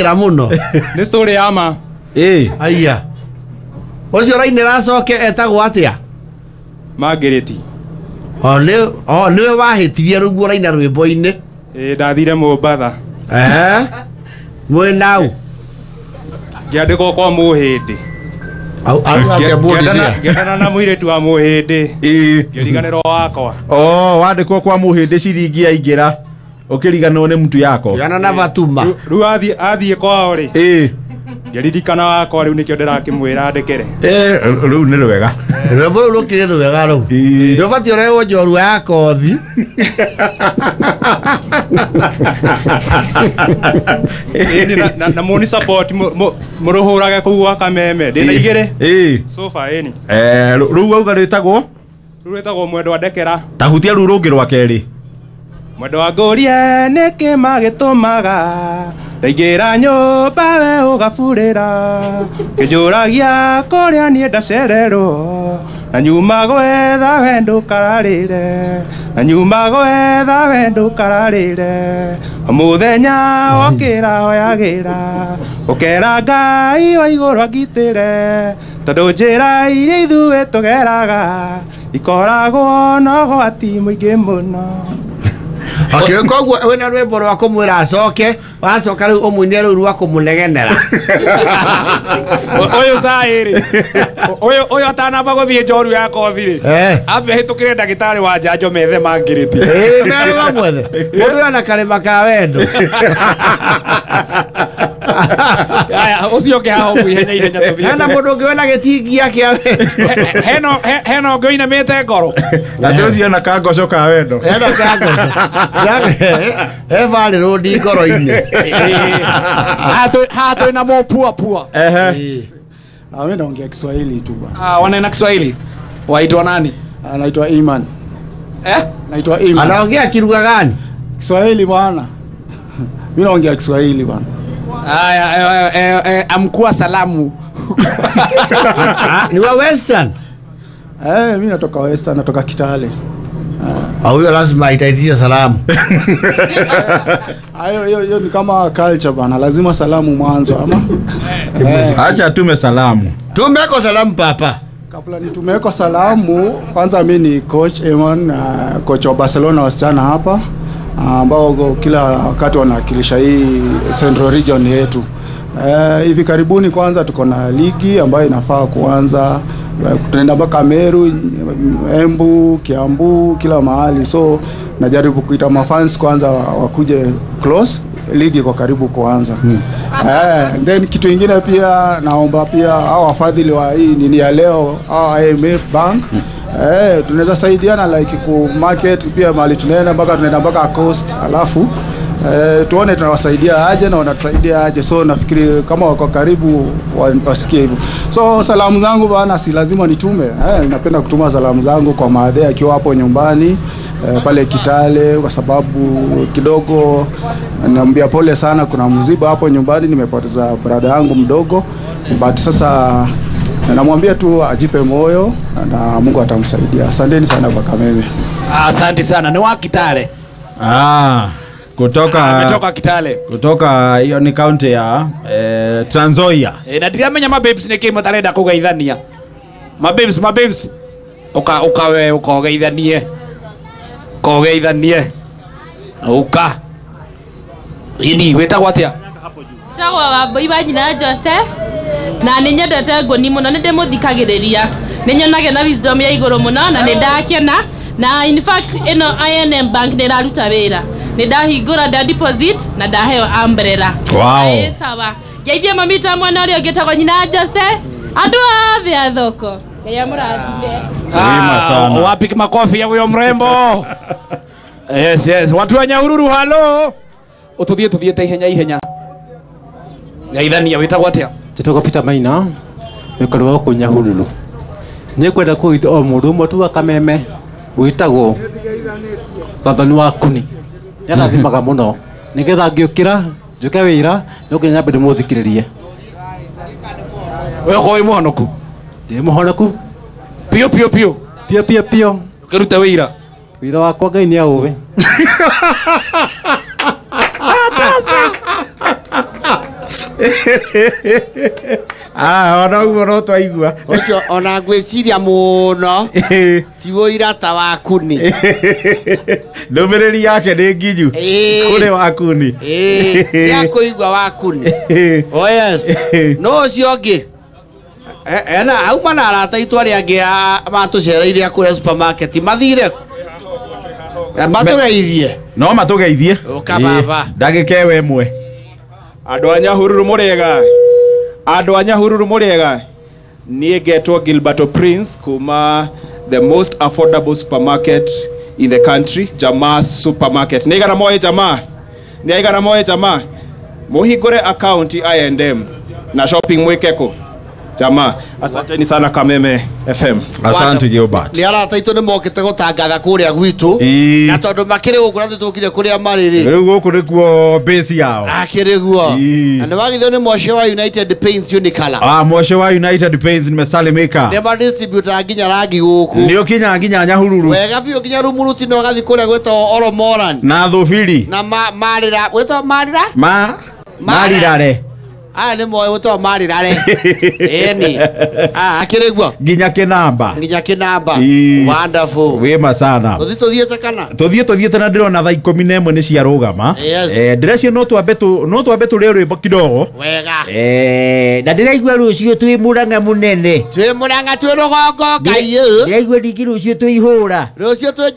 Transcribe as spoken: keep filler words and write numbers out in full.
Muno. Nĩ story ya ma. Ĩĩ. Aya. Ũcio ũrainĩra acoke etagwo atĩa? Margaret. O nĩ o nĩwe wahĩtirie rũguo ũraina rwĩmbo-inĩ. Ĩĩ ndathire Mombatha. Eh. Mwĩ nau. Ngĩandĩkwo kwa Mũhĩndĩ. Au au atĩa bodi cia. Ngĩendana na mũirĩtu wa Mũhĩndĩ. Ĩĩ. Ngĩriganĩrwo wakwa. Oh, wandĩkwo kwa Mũhĩndĩ ciringi yaingĩra. Ũkĩriganĩrwo nĩ mtu yako. Yana na Fatuma. Rĩu athiĩ athiĩ kwao rĩ. Ĩĩ. Ngĩririkana wakwa rĩu nĩkĩo ndĩrakĩmwĩra ndekere. Eh, rĩu nĩ rwega. Rwĩmbo rũu rũkĩrĩ rwega rũu. Nĩ ũbatiĩ ũrehwo njorua ya kothi. Ĩni na na mũni support mũrũhũrage kũu gwa Kameme. Ndĩna igĩrĩ. Ĩĩ. Sofa ĩni. Eh, rũu wauga rwĩtagwo? Rũu rwĩtagwo Mwendwa Ndekera. Ta hutia rũu rũngĩ rwa kerĩ. Mwendwa ngũrie nĩkĩ magĩtũmaga ndaingĩra nyũmba we ũgaburĩra kĩnjũragia kũrĩa niĩ ndacererwo na nyuma gwetha we ndũkararĩre na nyuma gwetha we ndũkararĩre mũthenya wokĩra hoyagĩra ũkera Ngai wa igũrũ angitĩre tondũ njĩra iria ithuĩ tũgeraga ikoragwo na ũgwati mũingĩ mũno. Okay, koguo wĩna rwĩmbo rwa kũmwĩra acoke, wacoka rĩu ũmũine rũu rwa kũmũnegenera. Ũyũ caĩ rĩ, ũyũ ũyũ atanamba gũthiĩ njoru ya kothi rĩ, ambe hĩtũkĩre ndagĩtarĩ wa njanjo methe mangĩrĩti. Ĩĩ, merwo mamwethe. Mũndũ ũyũ ana karĩma ka wendo. Aya, ũcio ũngĩ haha ũguo ihenya ihenya tũthiĩ. Hena mũndũ ũngĩ wĩna gĩtingia kĩa wendo. Hena hena ũngĩ ũinamĩte ngoro. Atĩ ũcio ena kangoco ka wendo. Hena kangoco. He varĩ rũndi ngoro-inĩ. Haha twĩna mũpua pua. Ehe. Ah, mimi naongea Kiswahili tu bwana. Ah, wanaenda Kiswahili. Waitwa nani? Anaitwa Iman. Eh? Naitwa Iman. Anaongea kilugha gani? Kiswahili bwana. Mimi naongea Kiswahili bwana. Aya, eh, eh, amkua salamu. Ni wa Western? Eh, mimi natoka Western, natoka Kitale. Ah, huyo lazima itaitisha salamu. Ayo hiyo hiyo ni kama culture bana, lazima salamu mwanzo ama. Acha tume salamu. Tumeko salamu papa. Kabla nitumeko salamu, kwanza mimi ni coach Eman, uh, coach wa Barcelona wasichana hapa ambao kila wakati wanawakilisha hii Central Region yetu. Eh, hivi karibuni kwanza tuko na ligi ambayo inafaa kuanza. Tunaenda mpaka Meru, Embu, Kiambu, kila mahali. So najaribu kuita mafans kwanza wakuje close, ligi kwa karibu kuanza. Hmm. Eh, then kitu kingine pia naomba pia hao wafadhili wa hii nini ya leo, hao I M F Bank. Hmm. Eh, tunaweza saidiana like ku market pia mahali tunaenda mpaka tunaenda mpaka coast, alafu eh, tuone tunawasaidia aje na wanatusaidia aje. So nafikiri kama wako karibu wasikie hivyo. So salamu zangu bana si lazima nitume. Eh, napenda kutuma salamu zangu kwa maadhe akiwa hapo nyumbani eh, pale Kitale, kwa sababu kidogo naambia pole sana, kuna mziba hapo nyumbani, nimepoteza brother yangu mdogo, but sasa namwambia tu ajipe moyo na Mungu atamsaidia. Asanteni sana kwa Kameme. Asante sana. Ni wa Kitale. Ah, kutoka ametoka Kitale. Kutoka hiyo ni county ya eh, Trans Nzoia. Eh, na ndiramenya mababes niki matarenda kugeithania. Mababes, mababes. Uka uka we ukogeithanie. Kogeithanie. Uka. Ini wetagwo atia? Njĩtagwo Wambui wa nyina Jose na nĩ nyendete ngũni mũno, nĩ ndĩmũthikagĩrĩria, nĩ nyonage na wisdom ya igũrũ mũno na nĩ ndakena, na in fact ĩno I N M Bank nĩ ĩraruta wĩra, nĩ ndahingũra nda deposit na ndaheo umbrella. Wow. Ĩ sawa. Ngeithie mami ta mwana ũrĩa ũngĩ etagwo nyina Jose, andũ othe a thoko. Ngai amũrathime. Ah, wapi makofi ya huyo mrembo? Yes, yes. Watu wa Nyahururu, halo. Ututhie tuthiete ihenya ihenya. Ngeithania wĩtagwo atĩa? Njĩtagwo Peter Maina, mũikari wa gũkũ Nyahururu. Nĩ ngwenda kũgeithia o mũndũ ũmwe tu wa Kameme wĩtagwo Gathoni wa Kuni. Nĩandathimaga mũno nĩgetha ngĩũkĩra njũke wĩra no nginya nyambe ndĩmũthikĩrĩrie. We ũkorwo wĩ mũhonoku? Ndĩ mũhonoku Pio pio pio. Pio pio pio. Ũkĩrute wĩra? Wĩra wakwa Ngai nĩ aũĩ. Ah, ona ũguo no twaigua. Ũcio ona ngwĩciria mũno ti ũira ta wakuni. Ndũmĩrĩri yake nĩ nginyu kũrĩ wakuni. Ĩĩ, nĩakũigua wakuni. Oh yes. No ũcio ũngĩ ena auma na arata aitũ arĩa angĩ matũcereire a kũrĩa supermarket mathire matũgeithie. No matũgeithie. Ũka baba. Ndagĩka ĩyo ĩmwe. Andũ a Nyahururu mũrĩega. Andũ a Nyahururu mũrĩega. Niĩ ngetwo Gilberto Prince kuma the most affordable supermarket in the country, Jamaa Supermarket. Nĩ igana moĩ Jamaa? Nĩ igana moĩ Jamaa? Mũhingũre account I and M na shopping mwĩke kũ? Jamaa. Asanteni sana Kameme F M. Asante Gilbert. Nĩ arata aitũ nĩ mokĩte gũtangatha kũrĩa gwitũ. Na tondũ makĩrĩ gũkũ na tũkire kũrĩa marĩ rĩ. Rĩu gũkũ nĩkuo base yao. Akĩrĩ guo. Na nĩ wagithio nĩ Moshe wa United Paints Unicolor. Ah, Moshe wa United Paints nimesalimika. Nĩ ma distributor nginya rangi gũkũ. Nĩ ũkinya nginya Nyahururu. Wega biũ nginya Rumuruti no gathi kũrĩa gwĩtagwo Oromoran. Na Thubiri. Na Marira, gwĩtagwo Marira? Ma Marirare. Aya nĩ moĩ gwĩtagwo Marirare. Ĩni. Ah, akĩrĩ guo. Nginya kĩnamba. Nginya kĩnamba. Wonderful. Wĩma sana. Tũthiĩ tũthiĩte kana? Tũthiĩ tũthiĩte na ndĩrona thaa ikũmi na ĩmwe nĩ ciarũgama. Yes. Eh, ndĩrecia no twambe tu no twambe tũrĩe rwĩmbo kidogo. Wega. Eh, na ndĩraigua rũciũ twĩ Murang'a mũnene. Twĩ Murang'a twĩ rũgongo Ngai. Ndĩraigua ningĩ rũciũ twĩ ihũra. Rũciũ twĩ